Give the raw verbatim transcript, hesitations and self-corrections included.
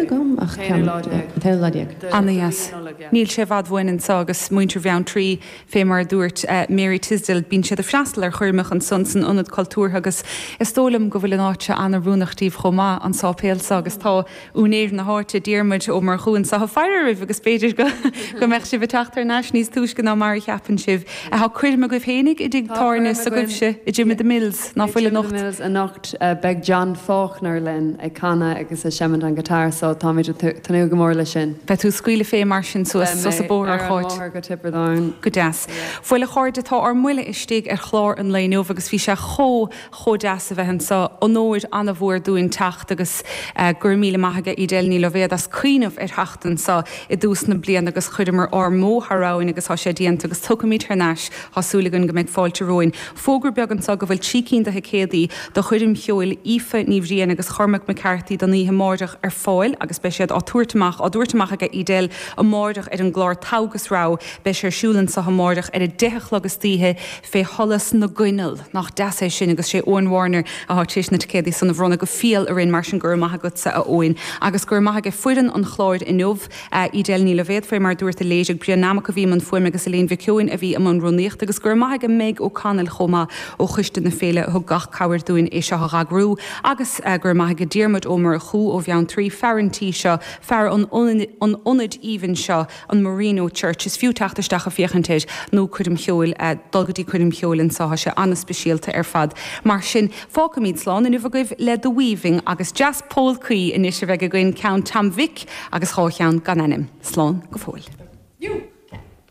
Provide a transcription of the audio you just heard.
agam ach T-aonú lá déag. An t-aonú lá déag. Ana-dheas. Níl sé i bhfad uainn anseo agus muintir Bheanntraí fé mar a dúirt Mary Tisdale, bíonn siad ag freastal ar choirmeacha ansan san Ionad Cultúrtha agus is dóigh liom go bhfuil an áit seo an-oiriúnach díobh chomh maith, an sáipéal seo agus tá úinéir na háite, Diarmuid Ó Murchú anseo ag faire oraibh agus b'fhéidir go go mbeadh sibh ag teacht thar n-ais níos túisce ná mar a cheapann sibh. Tá coirm agaibh fhéinig i dtigh tábhairne s'agaibhse i Jim of the Mills, ná fuil anocht? Mills anocht beidh John Faulkner linn ag canadh agus ag seimint an guitar so táimid ag tnúth go mór leis sin. Beidh tú ag scaoileadh fé mar sin suas suas an bóthar ar an bhóthar go Tiobraid Árann. Go deas. Bhuel a chairde tá ár mbuille istigh ar chlár an lae inniu agus bhí sé chomh chomh deas a bheith anseo. Onóir an-mhór dúinn teacht agus go raibh míle maith aige Edel Ní Loibhéad as cuimhneamh ar theacht anseo i dtús na bliana agus chuireamar ár mbó thar abhainn agus tá sé déanta agus tiocfaimid thar n-ais. Tá súil againn go mbeidh fáilte romhainn. Fógra beag anseo go bhfuil trí cinn de thicéadaí do choirm cheoil Aoife Ní Bhriain agus Chormac McCarthy don oíche amáireach ar fáil agus beidh siad á tabhairt amach á dtabhairt amach aige Edel amáireach ar an gclár Togha agus Rogha. Beidh sé ar siúl anseo amáireach ar a deich a chlog istoíche fé sholas na gcoinneal. Nach deas é sin agus sé Eoin Warner atá tar éis na ticéadaí san a bhronnadh go fial orainn mar sin go raibh maith agatsa a Eoin. Agus go raibh maith aige foireann an chláir inniu, Edel Ní Loibhéad fé mar a dúirt a léirigh Brian Nammock a bhí i mbun fuaime agus Elaine Mhic Eoin a bhí i mbun rúnaíochta agus go raibh maith aige Meg O'Connell chomh maith ó Choiste na Féile a thug gach cabhair dúinn é seo a dh'eagrú agus go raibh maith aige Diarmuid Ó Murchú ó Bheanntraí, fear an tí seo, fear an an ionaid aoibhinn seo, an Marino Church. Is fiú teacht isteach a féachaint air nó coirm cheoil, dul go dtí coirm cheoil anseo, tá sé an-speisialta ar fad. Mar sin, fágfaimid slán inniu agaibh le The Weaving agus dreas polcaí anois a bheidh againn, ceann Tom Mhic agus dhá cheann gan ainm. Slán go fóill. You.